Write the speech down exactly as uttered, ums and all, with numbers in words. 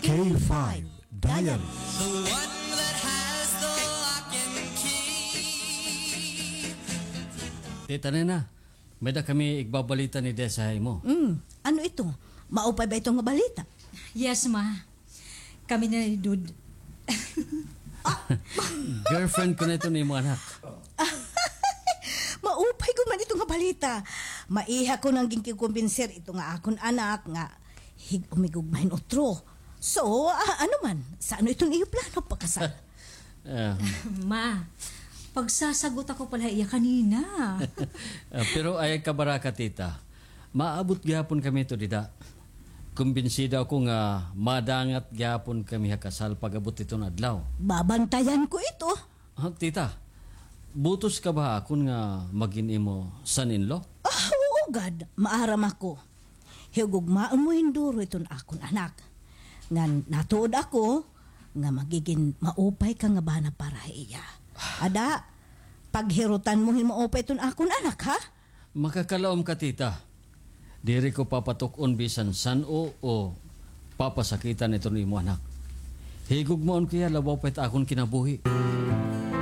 K five Diaries. The one that has the lock and key. Tita Nena, may-ada kami igbabalita ni Desa ha imo. Mm, ano ito? Maupay ba ito nga balita? Yes, ma. Kami na ni Dud. Girlfriend ko na ito ni imo anak. Maupay ko man ito nga balita. Maiha ko nang ginkikumbinser ito nga akon anak nga hig-, umigugma hin utro. So, ah, ano man, sa ano iton iyo plano pakasal? Ah. Ma, pagsasagot ako pala iya kanina. Ah, pero ay kabaraka, tita. Maabot gihapon kami ito dida. Kumbinsida ako nga madangat gihapon kami ha kasal pag-abot iton adlaw. Babantayan ko ito. Ah, tita, butos ka ba ha akon nga magin imo son-in-law? Ah, oo gad, maaram ako. Higugmaon mo hin duro iton akon anak. Ngan natuod ako nga magigin maupay ka nga bana para ha iya. Ada, paghirutan mo hin maupay iton akon anak, ha? Makakalaom ka, tita. Diri ko papatuk-on bisan san-o o papasakitan iton imo anak. Higugmaon ko hiya labaw pa it akon kinabuhi.